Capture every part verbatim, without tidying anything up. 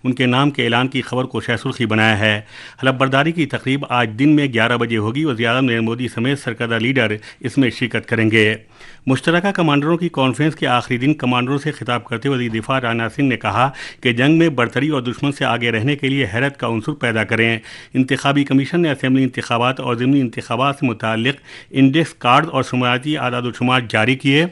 उनके नाम के ऐलान की खबर को शाह सुर्खी बनाया है। हलफ बर्दारी की तकरीब आज दिन में ग्यारह बजे होगी। वज़ीर आज़म नरेंद्र मोदी समेत सरकर्दा लीडर इसमें शिरकत करेंगे। मुश्तरका कमांडरों की कॉन्फ्रेंस के आखिरी दिन कमांडरों से खिताब करते हुए वज़ीर दिफा राजनाथ सिंह ने कहा कि जंग में बढ़तरी और दुश्मन से आगे रहने के लिए हैरत का उनसर पैदा करें। इंतखाबी कमीशन ने असेंबली इंतखाबात और ज़िमनी इंतखाबात से मुतालिक इंडेक्स कार्ड और शुमारती आदाद शुमार जारी किए।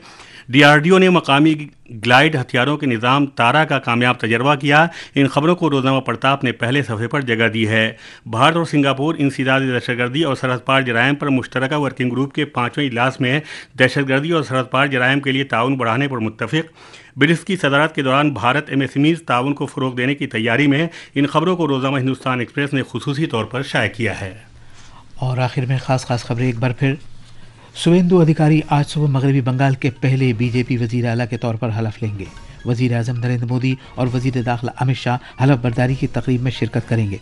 डीआरडीओ ने मकामी ग्लाइड हथियारों के निज़ाम तारा का कामयाब तजर्बा किया। इन खबरों को रोज़नामा प्रताप ने पहले सफ़े पर जगह दी है। भारत और सिंगापुर इंसदाद दहशतगर्दी और सरहद पार जराइम पर मुश्तरका वर्किंग ग्रुप के पाँचवें इजलास में दहशतगर्दी और सरहद पार जराइम के लिए ताउन बढ़ाने पर मुत्तफिक। ब्रिक्स की सदारत के दौरान भारत एमएसएमईज ताउन को फ़रोग देने की तैयारी में। इन खबरों को रोज़नामा हिंदुस्तान एक्सप्रेस ने खुसूसी तौर पर शाया किया है। और आखिर में खास खास खबरें एक बार फिर। सुवेंदु अधिकारी आज सुबह मगरबी बंगाल के पहले बीजेपी वजीर आला के तौर पर हलफ लेंगे। वजीर आजम नरेंद्र मोदी और वजीर दाखिला अमित शाह हलफ बर्दारी की तकरीब में शिरकत करेंगे।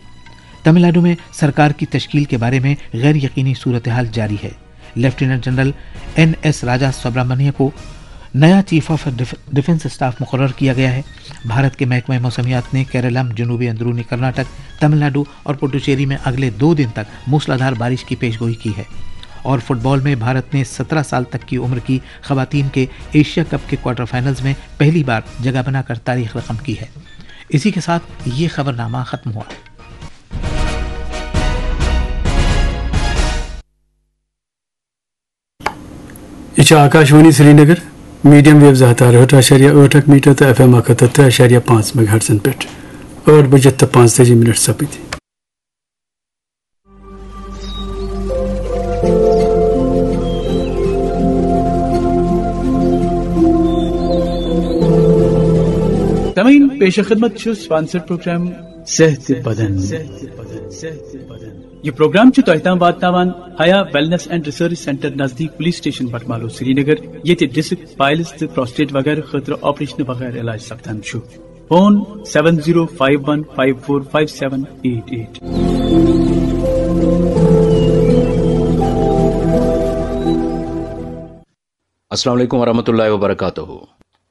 तमिलनाडु में सरकार की तश्कील के बारे में गैर यकीनी सूरत हाल जारी है। लेफ्टिनेंट जनरल एन एस राजा सुब्रमण्य को नया chief of diff-, defence staff मुकर्रर किया गया है। भारत के महकमा मौसमियात ने केरलम, जनूबी अंदरूनी कर्नाटक, तमिलनाडु और पुडुचेरी में अगले दो दिन तक मूसलाधार बारिश की पेशगोई की है। और फुटबॉल में भारत ने सत्रह साल तक की उम्र की खवातीन के एशिया कप के क्वार्टर फाइनल्स में पहली बार जगह बनाकर तारीख रकम की है। इसी के साथ ये खबरनामा खत्म हुआ। یہِ چھِ آکاشوانی سرینگر، میڈیم ویو زٕ ہتھ تہٕ ٲٹھ اَشاریہ ٲٹھ اکھ میٹر تہٕ ایف ایم اکھ ہتھ تہٕ ترٛےٚ اَشاریہ پانٛژھ میگا ہرٹزن پٮ۪ٹھ۔ ٲٹھ بجے تہٕ پانٛژتٲجی منٹ سپٕدۍ۔ سامعین، پیش خدمت چھُ سپانسر پروگرام صحت بدن۔ یہ پروگرام چھُ تۄہہِ تام واتناوان حیا ویلنس اینڈ ریسرچ سینٹر نزدیک پولیس سٹیشن بٹمالو سرینگر، ییٚتہِ ڈسک، پائلز تہٕ پروسٹیٹ وغیرہ خٲطرٕ آپریشن وغیرہ علاج سپدان چھُ۔ Phone seven zero five one five four five seven eight eight۔ السلام علیکم ورحمۃ اللہ وبرکاتہ۔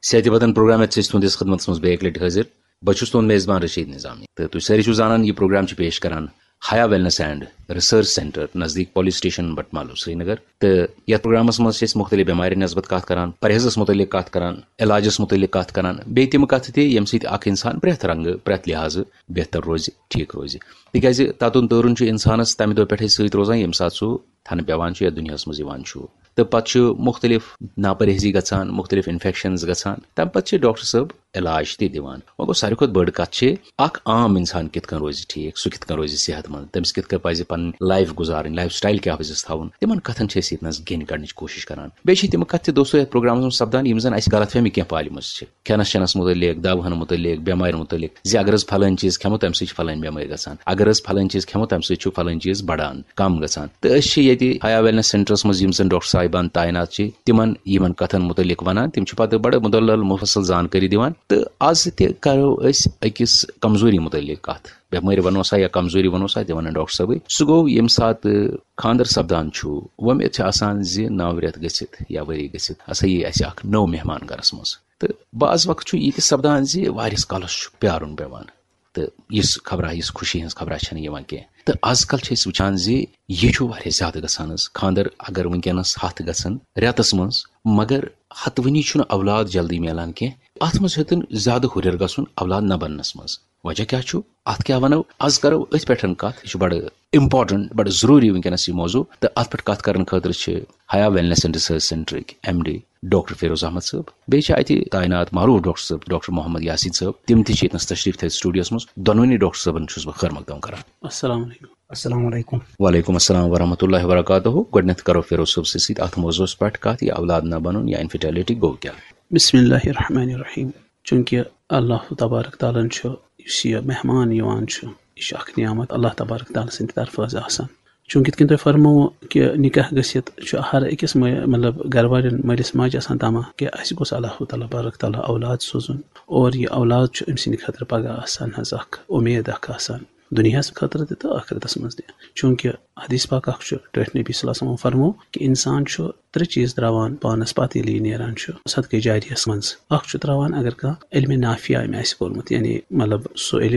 صحت بدن پروگرام ہیتھ چھِ أسۍ تُہنٛدِس خدمتس منٛز بیٚیہِ اکہِ لٹہِ حٲضِر۔ بہٕ چھُس تُہنٛد میزبان رشید نظامی۔ تہٕ تُہۍ سٲری چھِو زانان، یہِ پروگرام چھِ پیش کران حیا ویلنس اینڈ ریسرچ سینٹر نزدیٖک پولیس سٹیشن بٹمالو سرینگر۔ تہٕ یتھ پروگرامس منٛز چھِ أسۍ مُختٔلِف بٮ۪مارٮ۪ن نسبت کتھ کران، پرہیزس مُتعلق کتھ کران، علاجس مُتعلق کتھ کران، بیٚیہِ تِم کتھٕ تہِ ییٚمہِ سۭتۍ اکھ انسان پرٛٮ۪تھ رنگہٕ، پرٛٮ۪تھ لحاظہٕ بہتر روزِ، ٹھیٖک روزِ۔ تِکیازِ تتُن تٲرُن چھُ انسانس تمہِ دۄہ پٮ۪ٹھے سۭتۍ روزان، ییٚمہِ ساتہٕ سُہ تھنہٕ پٮ۪وان چھُ یا دُنیاہَس منٛز یِوان چھُ۔ تہٕ پتہٕ چھُ مُختٔلِف ناپرہیزی گژھان، مُختٔلِف انفیکشنز گژھان۔ تَمہِ پتہٕ چھِ ڈاکٹر صٲب علاج تہِ دِوان۔ وۄنۍ گوٚو، ساروی کھۄتہٕ بٔڑ کَتھ چھِ، اکھ عام اِنسان کِتھ کٔنۍ روزِ ٹھیٖک، سُہ کِتھ کٔنۍ روزِ صحت مند، تٔمِس کِتھ کٔنۍ پَزِ پَنٕنۍ لایف گُزارٕنۍ، لایف سٹایل کیٛاہ پَزٮ۪س تھاوُن، تِمن کَتھن چھِ أسۍ ییٚتہِ نَس گیٚنۍ کَڑنٕچ کوٗشِش کران۔ بیٚیہِ چھِ تِم کَتھٕ تہِ، دوستو، یَتھ پروگرامَس منٛز سَپدان، یِم زَن اَسہِ غلط فہمی کینٛہہ پالمٕژ چھِ۔ کھٮ۪نَس چٮ۪نَس مُتعلِق، دَوہَن مُتعلِق، بٮ۪مارٮ۪ن مُتعلِق، زِ اگر حظ پھلٲنۍ چیٖز کھٮ۪مو، تَمہِ سۭتۍ چھِ پھلٲنۍ بٮ۪مٲرۍ گژھان، اگر حظ پھلٲنۍ چیٖز کھٮ۪مو، تَمہِ سۭتۍ چھُ پھلٲنۍ چیٖز بَڑان، کَم گژھان۔ تہٕ أسۍ چھِ ییٚتہِ حیا ویلنس سینٹرس منٛز یِم زَن ڈاکٹر صاحبان تعینات چھِ، تِمن یِمن کَتھن مُتعلِق وَنان، تِم چھِ پَتہٕ بَڑٕ مُدلل مُفصل زانکٲری دِوان۔ تہٕ آز تہِ کَرو أسۍ أکِس کمزوری مُتعلِق کَتھ۔ بٮ۪مٲرۍ وَنو سا یا کمزوری وَنو سا، تہِ وَنان ڈاکٹر صٲبٕے۔ سُہ گوٚو ییٚمہِ ساتہٕ خانٛدر سَپدان چھُ، وۄمید چھِ آسان زِ نَو رٮ۪تھ گٔژھِتھ یا ؤری گٔژھِتھ ہسا یی اَسہِ اکھ نوٚو مہمان گرس منٛز۔ تہٕ بعض وقت چھُ یہِ تہِ سپدان زِ واریاہس کالس چھُ پیارُن پٮ۪وان، تہٕ یِژھ خبرا، یِژھ خوشی ہٕنٛز خبرا چھنہٕ یِوان کینٛہہ۔ تہٕ آز کل چھِ أسۍ وٕچھان زِ یہِ چھُ واریاہ زیادٕ گژھان حظ۔ خانٛدر اگر وٕنکیٚنس ہتھ گژھن رٮ۪تس منٛز، مگر ہتوٕنی چھُنہٕ اولاد جلدی میلان کینٛہہ۔ اتھ منٛز ہیوٚتُن زیادٕ ہُرٮ۪ر گژھُن اولاد نہ بننس منٛز۔ وجہ کیٛاہ چھُ؟ اتھ کیٛاہ ونو؟ از کرو أتھۍ پٮ۪ٹھ کتھ۔ یہِ چھُ بڑٕ امپورٹنٹ، بڑٕ ضروٗری وٕنکیٚنس یہِ موضوع۔ تہٕ اتھ پٮ۪ٹھ کتھ کرنہٕ خٲطرٕ چھِ حیا ویلنس اینڈ ریسرچ سینٹرٕکۍ M D doctor Feroz Ahmad صٲب، بیٚیہِ چھِ اتہِ تعینات معروٗف ڈاکٹر صٲب، ڈاکٹر محمد یاسین صٲب، تِم تہِ چھِ ییٚتنس تشریف تھٲوِتھ سٹوڈیوس منٛز۔ دۄنوٕنی ڈاکٹر صٲبن چھُس بہٕ خٲر مقدم کران۔ السلام علیکم۔ السلام علیکم۔ وعلیکم السلام ورحمۃ اللہ وبرکاتہ۔ گۄڈٕنیتھ کرو فیروز صٲب سٕنٛدِ سۭتۍ اتھ موضوعس پٮ۪ٹھ کتھ، یہِ اولاد نہ بنُن یا انفرٹیلٹی گوٚو کیٛاہ؟ بسم اللہ الرحمن الرحیم۔ چونکہ اللہ تبارک تعالیٰ ہن چھُ، یُس یہِ مہمان یِوان چھُ، یہِ چھُ اکھ نعمت اللہ تبارک تعالیٰ سٕنٛدِ طرفہٕ حظ آسان۔ چونکہ یِتھ کٔنۍ تۄہہِ فرمووُ کہِ نکاح گٔژھِتھ چھُ ہر أکِس مٲ-، مطلب گرٕ والٮ۪ن مٲلِس ماجہِ آسان تمع کہِ اَسہِ گوٚژھ اللہ تبارک تعالیٰ اولاد سوزُن، اور یہِ اولاد چھُ أمۍ سٕنٛدِ خٲطرٕ پگاہ آسان حظ اکھ اُمید اکھ آسان دُنیاہَس خٲطرٕ تہِ تہٕ ٲخرتَس منٛز تہِ۔ چونکہ حدیث پاک اکھ چھُ ٹٲٹھۍ نبی صلی اللہ علیہ وسلم فرموو کہِ انسان چھُ ترٛےٚ چیٖز ترٛاوان پانَس پَتہٕ ییٚلہِ یہِ نیران چھُ صدقے جاریَس منٛز۔ اکھ چھُ ترٛاوان اگر کانٛہہ علمِ نافع أمۍ آسہِ کوٚرمُت، یعنی مطلب سُہ علم